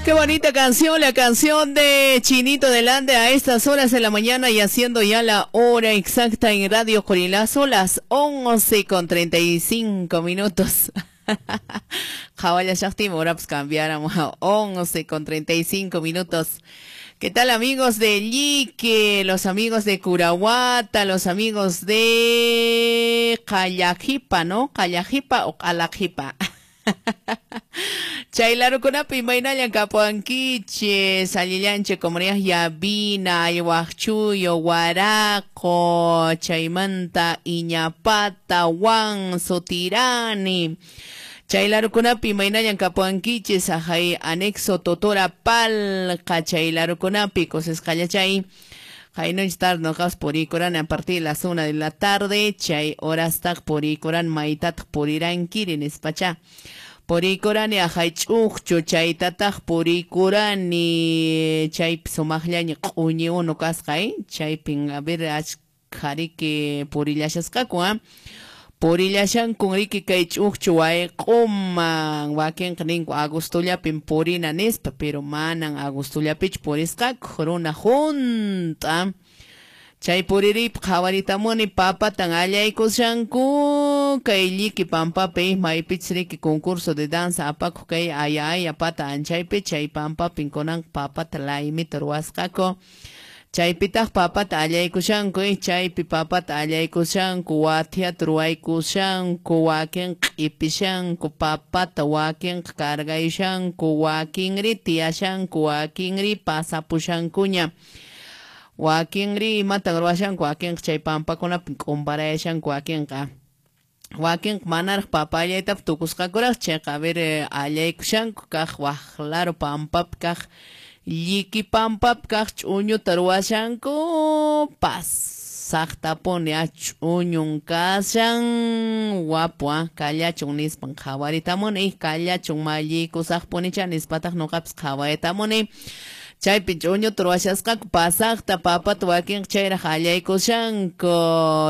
Qué bonita canción, la canción de Chinito Delante a estas horas de la mañana y haciendo ya la hora exacta en Radio Corilazo, las 11:35. Jawalla Shakti, ahora pues cambiáramos a 11:35. ¿Qué tal, amigos de Lique, los amigos de Curahuata, los amigos de Callajipa, ¿no? Callajipa o Calajipa. Chaylarukunapi imaynallan kapuankichis, allillanchik comunidad Yavina, Ayhuajchuyo, Huaraco, Chaymanta, Iñapata, Huanzo, Tirani. Chaylarukunapi imaynallan kapuankichis, ajay anexo Totora Palqa, chaylarukunapi kusisqallachay. Haynoch tarde noqas purikuran a partir de las 1 de la tarde, chay horastaq purikuran maytataq purirankiri nispacha. Purikurani ajay ch'uqchu chaytataq purikurani chaypi sumaqllaña q'uñi unu kasqa, chaypin a ver achkha riki purillashasqaku, purillashankun riki kay ch'uqchu wayq'uman, wakinqa ninku agostollapin purina nispa, pero manan agostollapichu purisqaku, runa hunt'a. Chay puririypi qhawaritamuni papatan allaykushanku kay lliki pampapi maypichus riki concurso de danza apakuq kay aya aya pata anchaypi chay pampapin kunan papata laymita ruwasqaku. Chaypitaq papata allaykushanku, chaypi papata allaykushanku, wathiata ruwaykushanku, wakinqa q'ipishanku papata, wakinqa cargayushanku, wakinri tiyashanku, wakinri pasapushankuña. Wakinri imatan ruwashanku, wakinqa chay pampakunapi k'umparayashanku wakinqa. Wakinqa manaraq papa allaytapas tukusqakuraq, chayqa a ver allaykushanku kaq waq laro pampapi kaq lliki pampapi kaq ch'uñuta ruwashanku, pasaqtapuni ch'uñun kashan, wapu kallachun nispan qhawaritamuni, kallachun malliykusaqpunicha nispataq nuqapas qhawaritamuni. Chaypi ch'uñuta ruwashasqaku pasaqta papata wakinqa chayraq allaykushanku,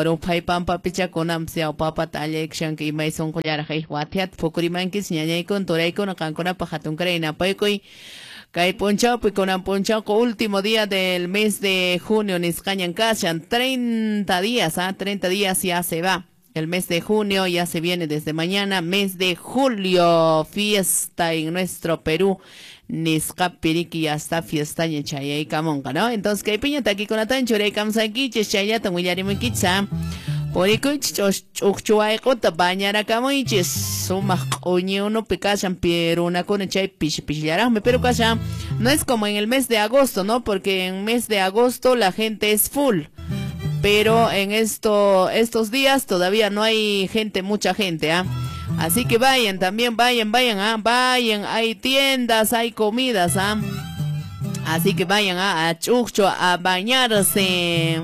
ruphay pampapicha kunanpas yaw papata allaykushanku imay sunqullaraq wathiata phukurimankichis ñañaykuna turaykuna qankunapaq hatunkaray napaykuy. Kay p'unchawpi kunan p'unchawqa último día del mes de junio nisqañan kashan, 30 días, 30 días ya se va. El mes de junio ya se viene desde mañana, mes de julio, fiesta en nuestro Perú. Nisqapi riki ya está fiestaña chayaykamunqa, ¿no? Entonces, kaypiña takikunatan churaykamusankichis, chayllatan willarimuykichis, Purikuychis ch'uqchu wayq'uta bañarakamuychis, sumaq q'uñi unupi kashan runakuna chay pishi pishillaraqmi, pero kashan, no es como en el mes de agosto, ¿no? Porque en mes de agosto la gente es full. Pero en estos días todavía no hay gente, mucha gente, ¿ah? Así que vayan, también vayan, vayan, ¿ah? Vayan, hay tiendas, hay comidas, ¿ah? Así que vayan a Ch'uqchu a bañarse.